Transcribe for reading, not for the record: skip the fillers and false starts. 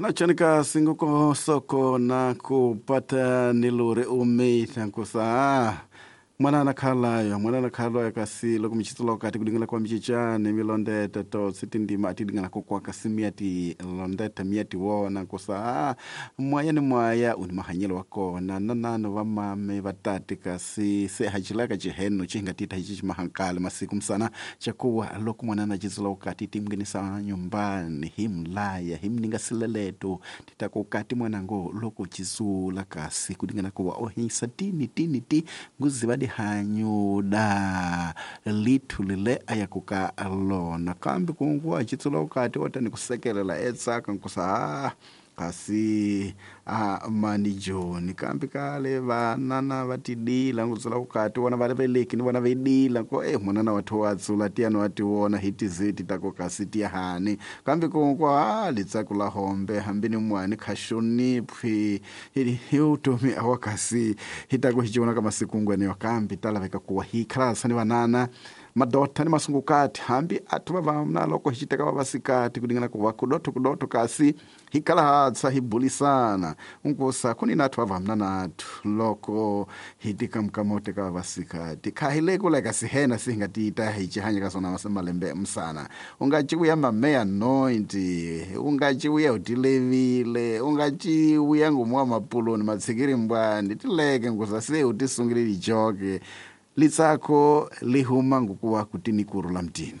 Chanachanika singoko soko na kupata nilure umeita nkusa mwanana khalayo mwanana khalayo kasi loko michitsulo kati kudingana kwa michichani milondeta to sitindima atidingana kokwa kasi miati londeta miati wona nkusa mwaya ni mwaya uni mahanyelo wa kona nanano va mame vatati kasi se hacilaka ciheno cihingatita hici cimahankale masiku msana chakuwa loko mwanana citsula ukati timngenisa nyumbani himlaya himninga sileleto titako ukati mwanango loko citsula kasi kudingana kuwa ohisa tini tini ti nguziva dihanyuda lithu lile ayakuka lona kambe kunguwa citsula ukati otani kusekelela etsaka nkusa kasi a mani joni kambe kale vanana va tidila ngudzula ukati vona va veleki ni vona vedila ko e mwanana wathu wa dzula tiyani wa tiwona hi tizeti tako kasi tiyahani kambe konkwa a litsaku la hombe hambi ni mwani khaxoniphi hi utomi awa kasi hi tako hi civona ka masiku ngweneyo kambe ta laveka kuwa hi khalasa ni vanana madota ni masungukati hambi athu va vamna loko hi citeka vavasikati kudingana kuva kudotho kudotho kasi hi kala hatsa hi bulisana nkusa kuni nathu vavamna nathu loko hi tikamukama teka vavasikati kha hi le kuleka sihena sihinga tiita hi cihanya ka sona malembe msana unga civuya mameya 90 unga civuya utilevile unga civuya ngumu wa mapuluni matshikiri mbwani tileke nkusa se utisungile lijoke litsako lihuma ngukuwa kutini kurula mtini.